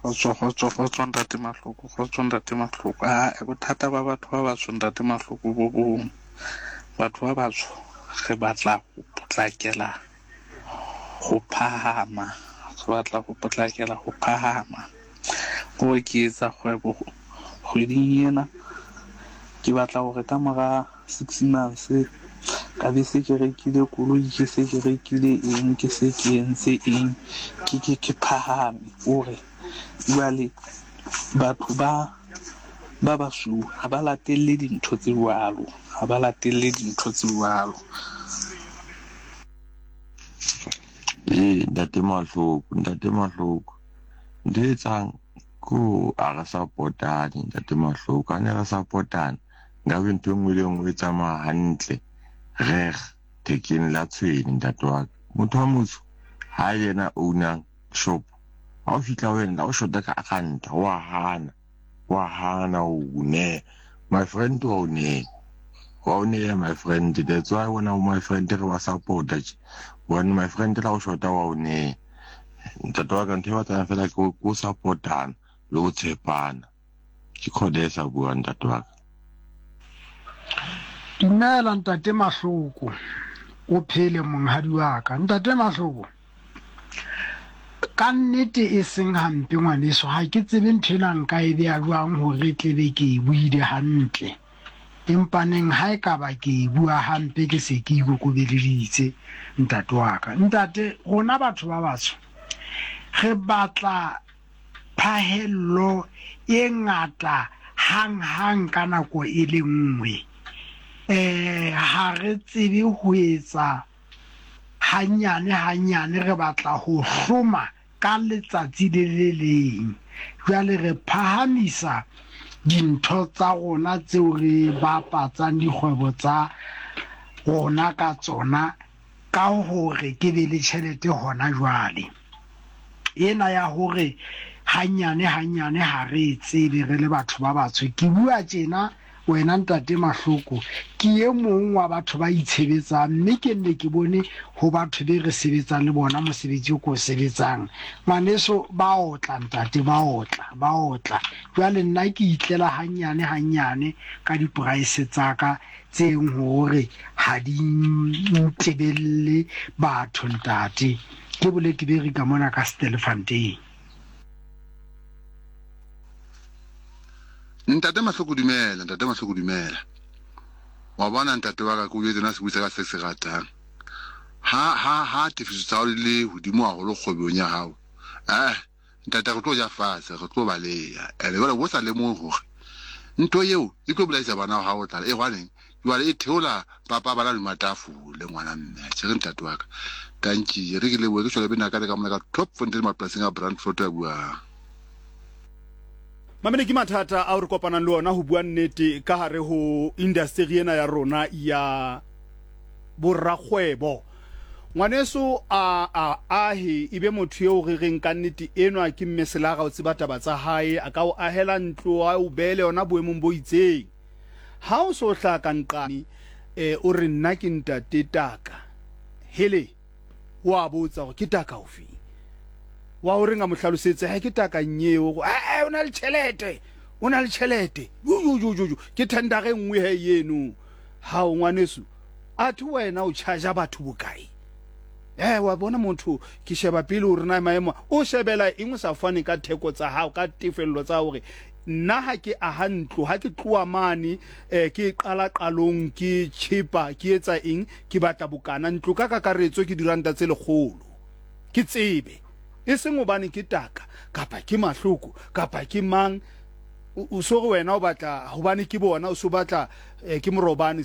Kgotso, kgotso, kgotso ntate Mahloko, kgotso ntate Mahloko. Aa, bothata ba batho ba batsho ntate Mahloko bo bong. Batho ba batsho re batla ho potlakela ho phahama, re batla ho potlakela ho phahama. Hore ke etsa kgwebo kgweding ena, ke batla hore ka mora six months ka be se ke rekile koloi, ke se ke rekile eng, ke se ke entse eng, ke ke ke phahame. Hore jwale batho ba ba basweu ha ba latelle dintho tse jwalo, ha ba latelle dintho tse jwalo. Ee, ntate Mahloko, ntate Mahloko. Ntho e etsang ko a re support-ane ntate Mahloko. Ha ne re support-ana nkabe ntho e nngwe le e nngwe e tsamaya hantle. Reg thekeng la tshwene ntate wa ka. Motho wa motsho ha yena ownang shop, ha o fihla ho yena la o shota ka ranta wa hana. Wa hana ho o neha. My friend wa o neha. Wa o neha my friend. That's why wena my friend re ba support-a tje. Hobane my friend la o shota wa o neha. Ntate wa ka ntho e batlang fela ke ho support-ana le ho tshepana. Ke Khodesa a buang ntate wa ka. Dumela ntate Mahloko, o phele monghadi wa ka. Ntate Mahloko, Ka nnete e seng hampe ngwaneso, ha ke tsebe ntho ena nka e bea jwang hore e tle be ke e buile hantle. Empaneng ha e ka ba ke e bua hampe ke se ke ikokobeleditse ntate wa ka. Ntate, rona batho ba batsho re batla phahello e ngata hanghang ka nako e le nngwe. Ha re tsebe ho etsa Hanyane hanyane re batla ho hloma ka letsatsi le le leng. Jwale re phahamisa dintho tsa rona tseo re bapatsang dikgwebo tsa rona ka tsona ka hore ke be le tjhelete hona jwale. Ena ya hore hanyane hanyane ha re e tsebe re le batho ba batsho. Ke bua tjena Wena Ntate Mahloko, ke e mong wa batho ba itshebetsang mme ke nne ke bone ho batho be re sebetsang le bona mosebetsi o ke o sebetsang. Ngwaneso, ba otla ntate, ba otla, ba otla. Jwale nna ke itlela hannyane hannyane ka diporaese tsa ka tse eng hore ha di ntebelle batho ntate. Ke Bolekeberi ka mona ka Stelfontein. Ntate Mahloko dumela, ntate Mahloko dumela. Wa bona ntate wa ka ke o jwetse nna sebui sa ka se se ratang. Ha ha ha tefiso tsa hao di le hodimo haholo kgwebong ya hao. Eh ntate re tlo ja fatshe, re tlo baleha. Ene jwale bo sa lemohe hore ntho eo e tlo bolaisa bana ba hao tlala. E hwaneng jwale e theola papa bana hodima tafole ngwana mme. Atjhe re ntate wa ka. Tanki re ke lebohe ke shwele bena ka le ka mona ka Top Fontaine mapolasing a Brandfort a buang. Mamele ke mathata ao re kopanang le ona ho bua nnete ka hare ho indasteri ena ya rona ya borakgwebo. Ngwaneso a a ahe e be motho eo re reng ka nnete enwa ke mme Selara o tseba taba tsa hae, a ka o ahela ntlo a o beele yona boemong bo itseng. Ha o so hlaha ka nqane eh, o re nna ke ntate Taka. Hele! O a botsa gore ke taka ofe wa o reng a mo hlalosetse he ke taka nyeo go ee o na le tšhelete o na le tšhelete jojojojojo ke tendera e nngwe he yeno hao ngwaneso a the wena o charger batho bokae eh wa bona motho ke sheba pele o rena maemo o shebela eng o sa fane ka theko tsa hao ka tefello tsa hore nna ha ke aha ntlo ha ke tloa mane eh, ke qala qalong ke chepa ke etsa eng Ke batla bokana, ntlo ka kakaretso ke diranta tse lekgolo. Ke tsebe. E seng hobane ke taka, kapa ke mahloko, kapa ke mang, o, o so re wena o batla, hobane ke bona, o so batla, eh, ke morobane.